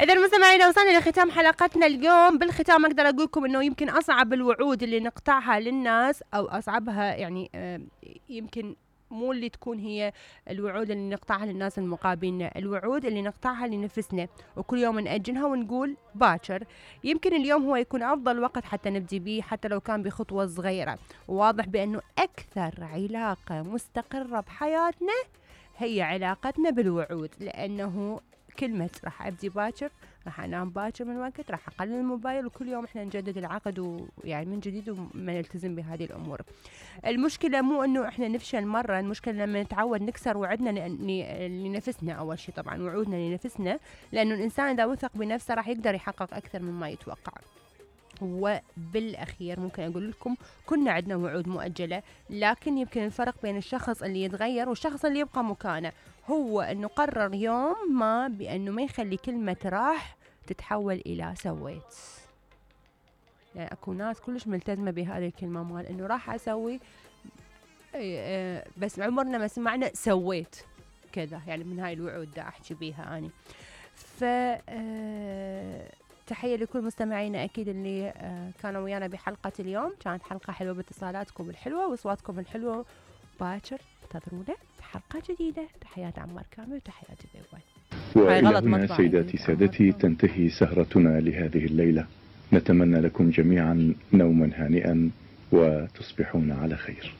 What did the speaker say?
إذا المستمعين وصلنا لختام حلقتنا اليوم. بالختام أقدر أقول لكم إنه يمكن أصعب الوعود اللي نقطعها للناس أو أصعبها يعني يمكن مو اللي تكون هي الوعود اللي نقطعها للناس المقابلين، الوعود اللي نقطعها لنفسنا وكل يوم نأجلها ونقول باكر. يمكن اليوم هو يكون أفضل وقت حتى نبدي به، حتى لو كان بخطوة صغيرة. وواضح بأنه أكثر علاقة مستقرة بحياتنا هي علاقتنا بالوعود، لأنه كلمة راح أبدي باكر، راح أنام باكر من وقت، راح أقلل الموبايل، وكل يوم إحنا نجدد العقد ويعني من جديد وما نلتزم بهذه الأمور. المشكلة مو إنه إحنا نفشل مرة، المشكلة لما نتعود نكسر وعدنا لنفسنا. أول شيء طبعا وعودنا لنفسنا، لأنه الإنسان إذا وثق بنفسه راح يقدر يحقق أكثر مما يتوقع. وبالأخير ممكن أقول لكم كنا عندنا وعود مؤجلة، لكن يمكن الفرق بين الشخص اللي يتغير والشخص اللي يبقى مكانه هو أنه قرر يوم ما بأنه ما يخلي كلمة راح تتحول إلى سويت. يعني أكو ناس كلش ملتزمة بهذه الكلمة مال أنه راح أسوي، بس عمرنا ما سمعنا سويت كذا. يعني من هاي الوعود دا أحكي بيها أنا. تحية لكل مستمعينا أكيد اللي كانوا ويانا بحلقة اليوم. كانت حلقة حلوة باتصالاتكم الحلوة وأصواتكم الحلوة. باكر انتظرونا بحلقة جديدة. تحيات عمار كامل وتحياتي بيبوي. وإلى هنا سيداتي سادتي تنتهي سهرتنا لهذه الليلة. نتمنى لكم جميعا نوما هانئا وتصبحون على خير.